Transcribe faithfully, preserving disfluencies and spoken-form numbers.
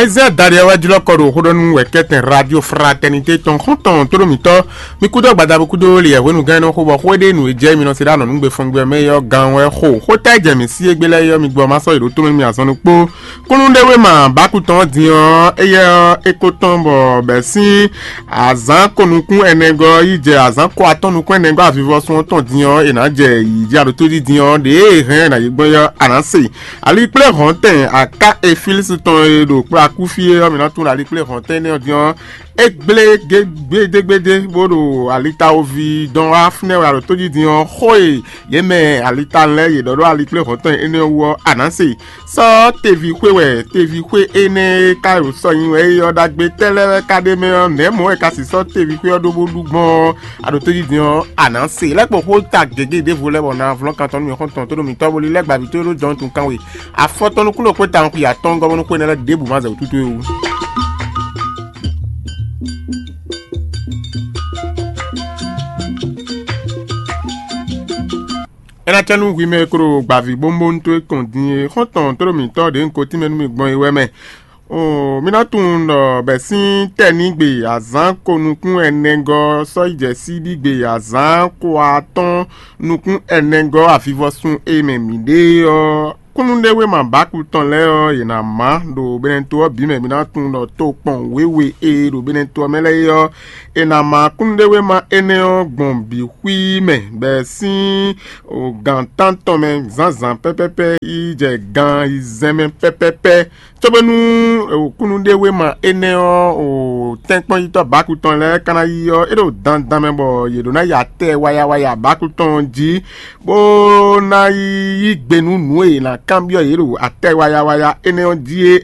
Ezɛ́ Daliɛ wɛ jlɔ́ kɔ ɖo xó ɖɔ nú wɛ̌kɛ́tɛn Radio Fraternité tɔn xɔ́ntɔn tóɖómítɔ́. Mi kúdó gbadabú kúdó liyɛ hwenu gán nɔ xó bɔ xó e ɖe nǔ e jɛ mi nɔ se ɖo anɔ̌nugbe fɔngbe mɛ é ɔ́ gan wɛ xo. Xó tɛ́ jɛ mǐ sí égbé lɛ́ɛ é ɔ́, mi gbɔ ma sɔ́ yi ɖǒ tónú mì azɔn ɖokpó. Kúnnuɖewéma bákú tɔn ɔ́ din ɔ́, éyɛ́ ɔ́, é ko tɔn bɔ bɛ̌ sín azǎn konukún ɛnɛgɔ́ yi jɛ azǎn kɔ atɔ́ nukún ɛnɛgɔ́ avivɔsun ɔ́ tɔn din ɔ́, è nǎ jɛ yǐ jí aɖótójí din ɔ́, ɖě e hɛn ɛ nǎ yi gbɔn é ɔ́, a nǎ se. Alikplɛ́hɔ̌ntɛn aká Efilísi tɔn e ɖo kplɔ́ akúfí é ɔ́, mǐ ná tunwun ɖo alikplɛ́hɔ̌ntɛn énɛ́ ɔ́ din ɔ́, é gblé gbédégbédé bó ɖo alitawoví dɔn wá fínɛ́ wɛ aɖǒtójí din ɔ́, xó e yě mɛ alitalɛ́ yě ɖɔ ɖó alikplɛ́hɔ̌ntɔn énɛ́ ɔ́ wú ɔ́, a nǎ se. Sɔ́ teví xwé wɛ, teví xwé énɛ́ e ka ɖo sɔ nyi wɛ é ɔ́ ɖagbe tɛ́ lɛ́ɛ wɛ ka ɖ'é mɛ ɔ́, nɛ̌ mɔ̌ wɛ ka sixɔ teví xwé ɔ́ ɖó bó ɖu gbɔn ɔ́, aɖǒtójí din ɔ́, a nǎ se. Lɛ́kpɔ́ xó ta gěgé ɖěvo lɛ́ɛ bɔ na vlɔ́n kan tɔn nú mì xɔ́ntɔn tó ɖo mǐtɔn bo lílɛ́ gbǎví tó ɖó jɔ̌n tun kan we. Afɔ tɔn nukúnɖó kpé tawun xwi atɔ́ɔ́ngɔ́ bónú xwé énɛ́ lɛ́ɛ ɖěbǔ ma zɛ wǔtútú é wú. É ná cɛ nú hwi mɛ e ko ɖo gbǎví bónbónú tó é kɔn din é, xɔ́ntɔn tó ɖo mǐtɔn ɖě un ko tínmɛ nú mi gbɔn é wɛ mɛ. Oo, mi ná tunwun ɖɔ bɛ̌ sín tɛ́nígbe azǎn ko nukún ɛnɛgɔ́ sɔ́ yi jɛ síbígbe azǎn ko atɔ́ɔ́n nukún ɛnɛgɔ́ avivɔsun e mɛ mǐ ɖe ɔ́, kúnnuɖewéma báku tɔn lɛ́ɛ ɔ́, yě ná má ɖo Benɛto ɔ́ bǐ mɛ. Mi ná tunwun ɖɔ tokpɔn wěwe e ɖo Benɛto ɔ́ mɛ lɛ́ɛ é ɔ́, è nǎ má kúnnuɖewéma énɛ́ ɔ́ gbɔn bǐ xwí mɛ, bɛ̌ sín gǎn tántɔn mɛ zǎnzǎn pɛ́pɛ́pɛ́ yi jɛ gan ayizɛ́n mɛ pɛ́pɛ́pɛ́. Cóbónú kúnnuɖewéma énɛ́ ɔ́, tɛ́nkpɔ́nyitɔ́ báku tɔn lɛ́ɛ ka ná yí ɔ́, é ɖo dandan mɛ bɔ yě ɖó ná yi atɛ wayawaya báku tɔn ɔ́ jí, bó ná yi yí gbe nú nǔ e è nǎ kanbyɔ́ yě ɖo atɛ wayawaya énɛ́ ɔ́ jí é.